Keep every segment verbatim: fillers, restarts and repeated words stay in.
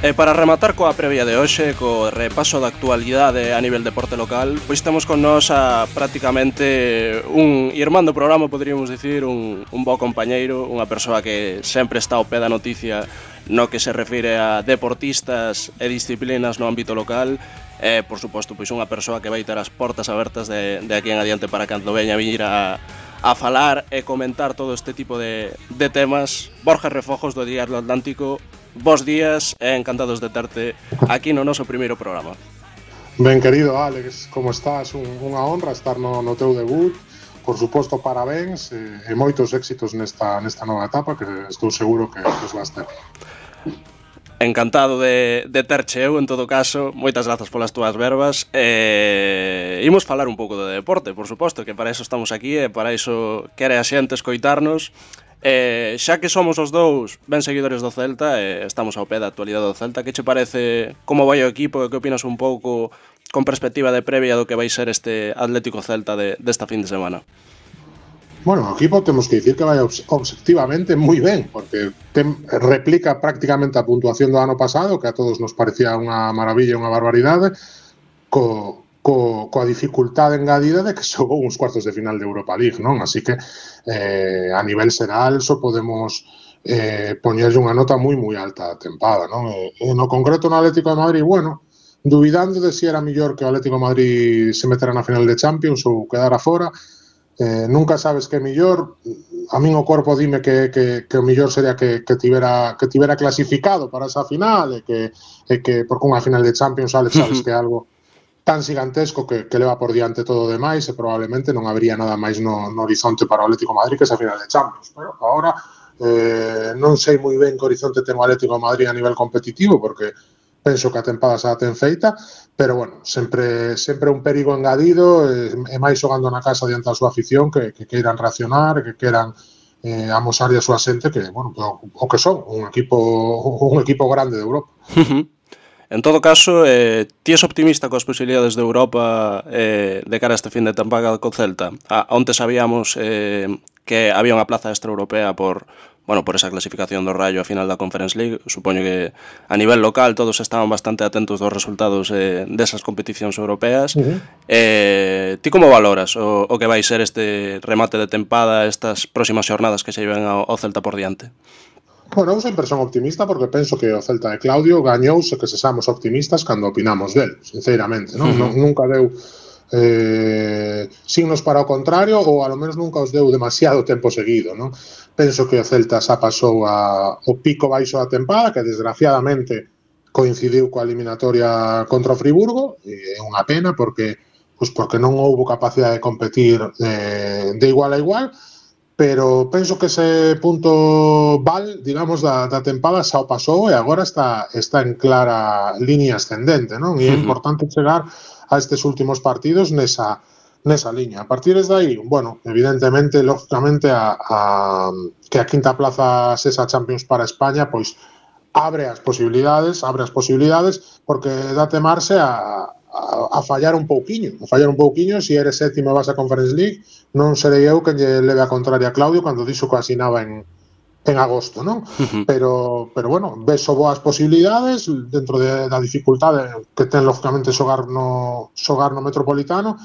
E para rematar coa previa de hoxe, co repaso da actualidade a nivel deporte local, pois temos con nós a prácticamente un irmán do programa, poderíamos dicir, un, un bo compañeiro, unha persoa que sempre está ao pé da noticia no que se refire a deportistas e disciplinas no ámbito local. E, por suposto, pois unha persoa que vai ter as portas abertas de, de aquí en adiante para cando veña a vir a, a falar e comentar todo este tipo de, de temas. Borja Refojos, do Diario Atlántico. Bos días e encantados de terte aquí no noso primeiro programa. Ben, querido Alex, como estás? Un, unha honra estar no, no teu debut. Por suposto, parabéns e, e moitos éxitos nesta, nesta nova etapa que estou seguro que os vas ter. Encantado de, de terche eu, en todo caso. Moitas grazas polas túas verbas. E imos falar un pouco de deporte, por suposto, que para iso estamos aquí e para iso quere a xente escoitarnos. Eh, xa que somos os dous ben seguidores do Celta e estamos ao pé da actualidade do Celta, que che parece, como vai o equipo e que opinas un pouco con perspectiva de previa do que vai ser este Atlético Celta de, desta fin de semana? Bueno, o equipo temos que dicir que vai obxectivamente moi ben, porque tem, replica prácticamente a puntuación do ano pasado, que a todos nos parecía unha maravilla e unha barbaridade, co, co, coa dificultade engadida de que xogou uns cuartos de final de Europa League, non? Así que eh, a nivel xeral só podemos eh, poñerlle unha nota moi moi alta a tempada, non? E, e no concreto no Atlético de Madrid, bueno, dubidando de si era mellor que o Atlético de Madrid se metera na final de Champions ou quedara fora. Eh, nunca sabes que é mellor. A min o corpo dime que, que, que o mellor sería que, que, tivera, que tivera clasificado para esa final e que, e que porque unha final de Champions, Alex, sabes que é algo tan gigantesco que, que leva por diante todo o demais e probablemente non habría nada máis no, no horizonte para o Atlético de Madrid que esa final de Champions. Pero agora eh, non sei moi ben que horizonte ten o Atlético de Madrid a nivel competitivo, porque penso que a tempada xa ten feita, pero bueno, sempre sempre un perigo engadido e, e máis xogando na casa diante da súa afición que, que queiran reaccionar, que queiran eh, amosar a súa xente que, bueno, o, o que son, un equipo un equipo grande de Europa. En todo caso, eh, ti és optimista coas posibilidades de Europa eh, de cara a este fin de tempada co Celta? A, onte sabíamos eh, que había unha plaza extraeuropea por, bueno, por esa clasificación do Rayo a final da Conference League. Supoño que a nivel local todos estaban bastante atentos dos resultados eh, desas competicións europeas. Uh-huh. eh, ti como valoras o, o que vai ser este remate de tempada, estas próximas xornadas que se lleven ao, ao Celta por diante? Bueno, eu sempre son optimista porque penso que o Celta de Claudio gañouse que sexamos optimistas cando opinamos del, sinceramente, non? Uh-huh. Nunca deu eh, signos para o contrario ou ao menos nunca os deu demasiado tempo seguido, non? Penso que o Celta xa pasou a, o pico baixo da tempada, que desgraciadamente coincidiu coa eliminatoria contra o Friburgo, e é unha pena porque, pues porque non houbo capacidade de competir eh, de igual a igual, pero penso que ese punto val, digamos, da, da tempada xa o pasou e agora está, está en clara línea ascendente, non? E é importante chegar a estes últimos partidos nesa, nesa liña. A partir de aí, bueno, evidentemente, lógicamente, a, a, que a quinta plaza sexa Champions para España, pois abre as posibilidades, abre as posibilidades, porque dá temarse a A, a fallar un pouquiño, a fallar un pouquiño. Se si eres sétimo e vas a Conference League, non serei eu que lle leve a contraria a Claudio cando dixo que asinaba en, en agosto, non? Uh-huh. Pero, pero bueno, veso boas posibilidades dentro de, da dificultade que ten lógicamente xogar no, xogar no Metropolitano,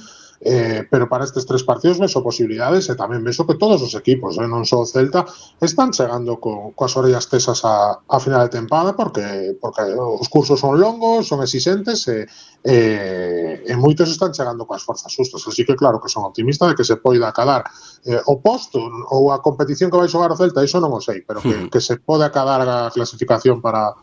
eh, pero para estes tres partidos veso posibilidades e tamén veso que todos os equipos, eh, non só o Celta, están chegando co, coas orellas tesas a, a final de tempada porque, porque os cursos son longos, son exigentes e, e, e moitos están chegando coas forzas justas, así que claro que son optimista de que se poida acadar eh, o posto ou a competición que vai xogar o Celta, iso non o sei, pero que, que se pode acadar a clasificación para